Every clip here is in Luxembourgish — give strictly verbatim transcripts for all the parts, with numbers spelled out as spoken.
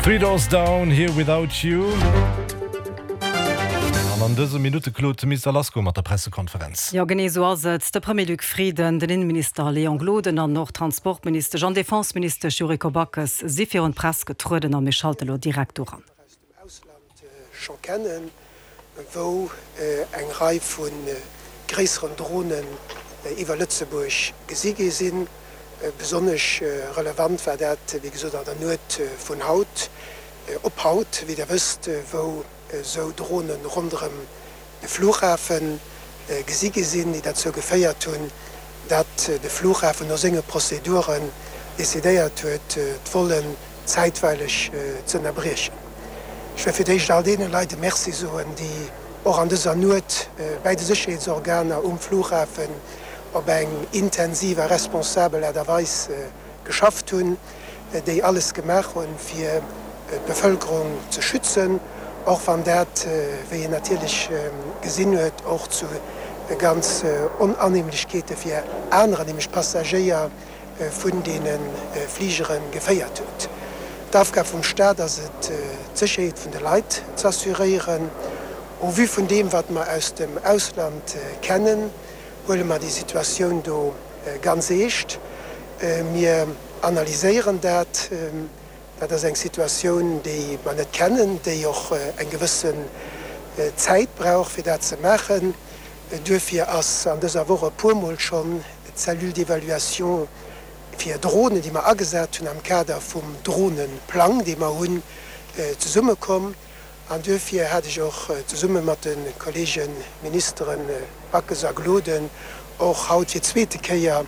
Three Doors Down Here Without You. An an dëse Minutte Claude Mister Lasko mat der Pressekonferenz. Jo genee sou ass et de Premier Luc Frieden, den Inneminister Léon Gloden an och Transportminister an Defenseminister Yuriko Backes si virun d'Press getrueden a mir schalte lo direkt doran. Scho kennen, wou äh, eng Rei vun äh, gréisseren Dronen äh, iwwer Lëtzebuerg gesi gi sinn. Äh, besonnesch äh, relevant war dat wéi gesot an der Nuecht äh, vun haut äh, op haut, wéi der wësst, äh, wou äh, sou Dronen ronderëm de Flughafen äh, gesi gi sinn, déi dozou geféiert hunn, dat äh, de Flughafen no senge Prozeduren decidéiert huet, äh, d'Vollen zäitweileg äh, ze ënnerbriechen. Ech wëll fir d'éischt all deene Leit Merci soen, déi och an dëser Nuecht äh, bei de Sécherheetsorganer um Flughafen op eng intensiv a responsabel Aart a Weis äh, geschafft hunn, äh, déi alles gemaach hunn fir äh, d'Bevëlkerung ze schützen, och wann dat äh, wéi een natierlech äh, gesinn huet och zu äh, ganz äh, Onannehmlechkeete fir anerer, nämlech Passagéier äh, vun deene äh, Fligere geféiert huet. D'Aufgab vum Staat ass et äh, d'Sécherheet vun de Leit ze assuréieren. Au vu vun deem wat mer aus dem Ausland äh, kennen, huele mer déi Situatioun do äh, ganz eescht. Äh, mir analyséieren dat, ähm, dat ass eng Situatioun, déi mer net kennen, déi och äh, eng gewëssen äh, Zäit brauch fir dat ze maachen. Äh, duerfir ass an dëser Woch e puermol schonn d'Cellule d'évaluation fir Dronen, déi mer agesat hunn am Kader vum Dronenplang, dee mer hunn äh, zesummekomm. An duerfir hat ech och äh, zesumme mat de Kollege Ministeren äh, Backes a Gloden och haut fir d'zweete Kéier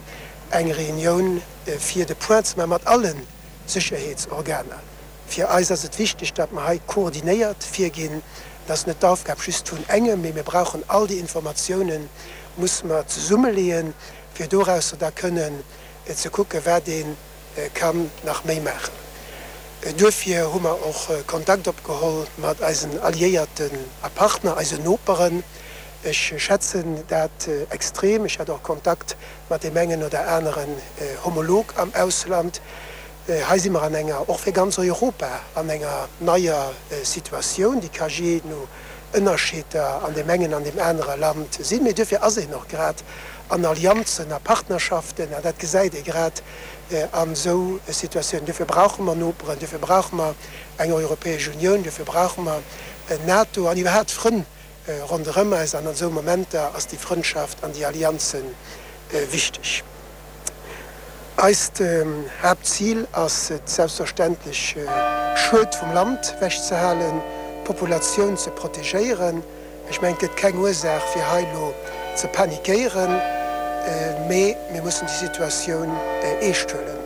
eng Reunioun äh, fir de Point ze maache mat allen Sécherheetsorganer. Fir eis ass et wichteg, dat mer hei koordinéiert virginn, dat ass net d'Aufgab just vun engem, mee mir brauchen all déi Informatiounen, musse mer zesummeleeën, fir doraus da kënnen äh, ze kucke wat ee äh, kann nach méi maachen. Äh, duerfir hu mer och äh, Kontakt opgeholl mat eisen Alliéierten a Partner, eisen Noperen. Ech schätzen dat äh, extrem. Ech hat och Kontakt mat deem engen oder aneren äh, Homolog am Ausland. Äh, hei si mer an enger och fir ganz Europa an enger neier äh, Situatioun, déi ka jee no Ënnerscheeder an deem engen an deem anere Land sinn. Mee duerfir ass een och grad an Allianzen a Partnerschaften, an dat gesäit ee grad äh, an sou Situatiounen. Duerfir brauche mer Noperen, duerfir brauche mer eng Europäesch Unioun, duerfir brauche mer äh, NATO an iwwerhaapt Frënn äh, ronderëm eis an an sou Momenter ass déi Frëndschaft an déi Allianzen äh, wichteg. Eist ähm, Haaptzil ass et selbstverständlech äh, Schued vum Land ewechzehalen, d'Populatioun ze protegéieren. Ech mengen et gëtt keng Ursaach fir hei lo ze panikéieren, äh, mee mir mussen déi Situatioun äh, eescht huelen.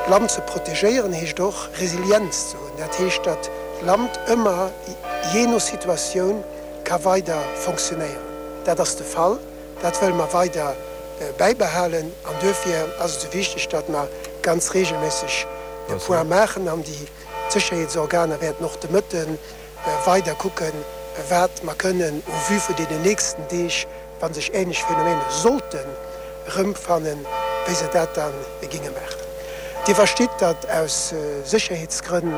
Land ze protegéieren heescht och Resilienz ze hunn. Dat heescht, dat d'Land ëmmer jee no Situatioun ka weider funktionéieren. Dat ass de Fall, dat wëlle mer weider äh, bäibehalen an duerfir ass et sou wichteg, dat mer ganz reegelméisseg de Point maachen an déi Sécherheetsorganer wäerten och de Mëtten äh, weider kucken, wat mer kënnen au vu vun den nächsten Deeg, wann sech änlech Phänomener sollten rëmfannen, wéi se dat dann géinge maachen. Dir verstitt, dat aus äh, Sécherheetsgrënn